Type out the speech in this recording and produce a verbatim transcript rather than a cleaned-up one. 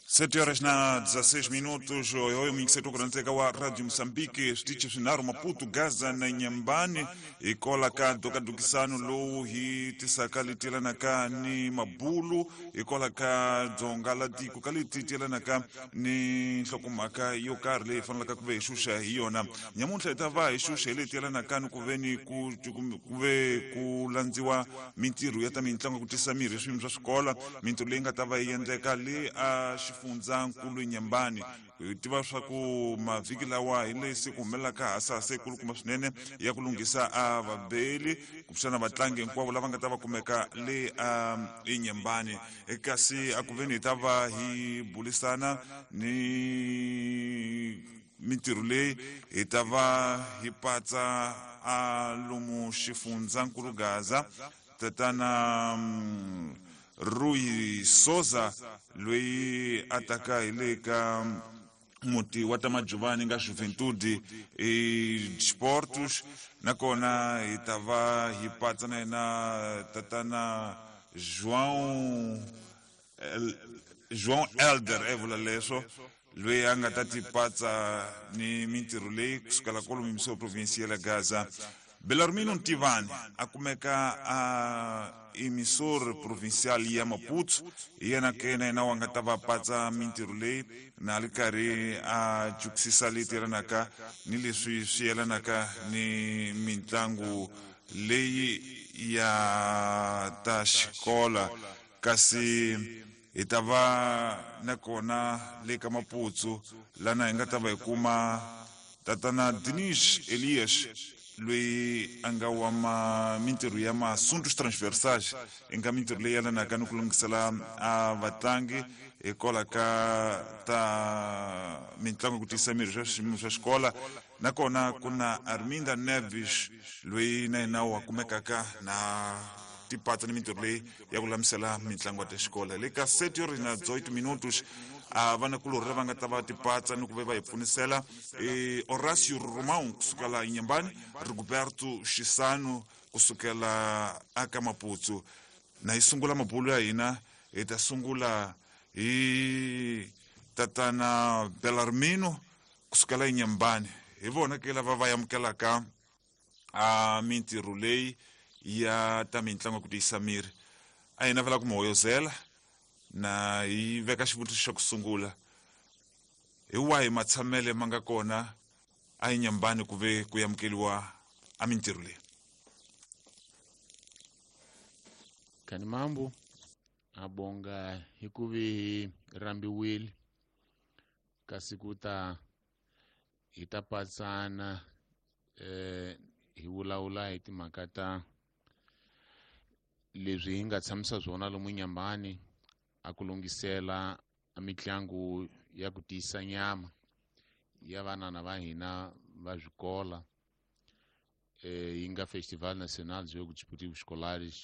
Sete horas na dezesseis minutos, oyo mingiseto kuranteka wa Radio Moçambique, switichi swinharhu Maputo, Gaza na Nyambani, hikola ka dokadukisano lowu hi tisaka leti yelanaka ni mabulu, hikola ka dzonga la tiko ka leti ti yelanaka ni nhlokomhaka yo karhi leyi fanelaka ku ve hi xuxa hi yona. Nyamuntlha hi ta va hi xuxa hi leti yelanaka ni ku ve ni ku ku ve ku landziwa mintirho ya ta mitlangu ku tisa mirhi hi swiyimo swa swikola, mintirho leyi nga ta va yi endleka le a xifundzankulu Nyambani. Hi tiva swa ku mavhiki lawa hi lesi ku humelelaka hasahasa yikulukumba swinene ya ku lunghisa a vabeli kumbexana vatlangi hinkwavo lava nga ta va kumeka le a eNyambani. Kasi a ku veni hi ta va hi bulisana ni mintirho leyi hi ta va hi patsa a lomu xifundzankulu Gaza tatana Rui Souza loyi a taka hi le ka muti wa ta Majuvani nga Juventude e Sportos, nakona hi ta va hi patsa na yena tatana João El, João Elder e vula leswo loyi a nga ta ti patsa ni mintirho leyi kusukela kwalomu misiwa provinsi ya le Gaza. Belarmino Ntivani a kumeka a emissor provincial ya Maputo, hi yena ke na yena wa nga ta va patsa mintirho leyi na ri karhi a jukisisa leti yelanaka ni leswi swi yelanaka ni mitlangu leyi ya ta xikola. Kasi hi ta va nakona le ka Maputo lana hi nga ta va hi kuma tatana Dinis Elias loyi a nga wa ma mintirho ya masuntos transversais, i nga mintirho leyi yelanaka ni ku lunghisela a vatlangi hikwalaho ka ta mitlangu ku tiyisa miri swa swiyimo swa xikola. Nakona ku na Arminda Neves loyi na yena wa kumekaka na tipatsa ni mintirho leyi ya ku lamisela mitlangu ya ta xikola. Le ka sete horas na dezoito minutos a vanakulorhi lava nga ta va tipatsa ni ku ve va hi pfunisela e Horácio Romão kusukela Nyambani, Rigoberto Xisano kusukela aka Maputo. Na hi sungula mabulo ya hina hi ta sungula hi tatana Belarmino kusukela eNyambani. Hi vona ke lava va amukelaka a mintirho leyi ya ta mitlangu ku tiyisa miri. A hi navela ku mi hoyozela na hi veka xivutiso xa ku sungula, hi wahi matshamele ma nga kona a eNyambani ku ve ku amukeliwa a mintirho leyi? Kani mambo abonga hi ku vi rambiwile kasi ku ta hi ta patsana eh hi vulavula hi timhaka ta leswi hi nga tshamisa swona lomu Nyambani a ku lunghisela a mitlangu ya ku tiyisa nyama ya vanana va hina va swikola eh yi nga Festival Nacional de Jogos Desportivos Escolares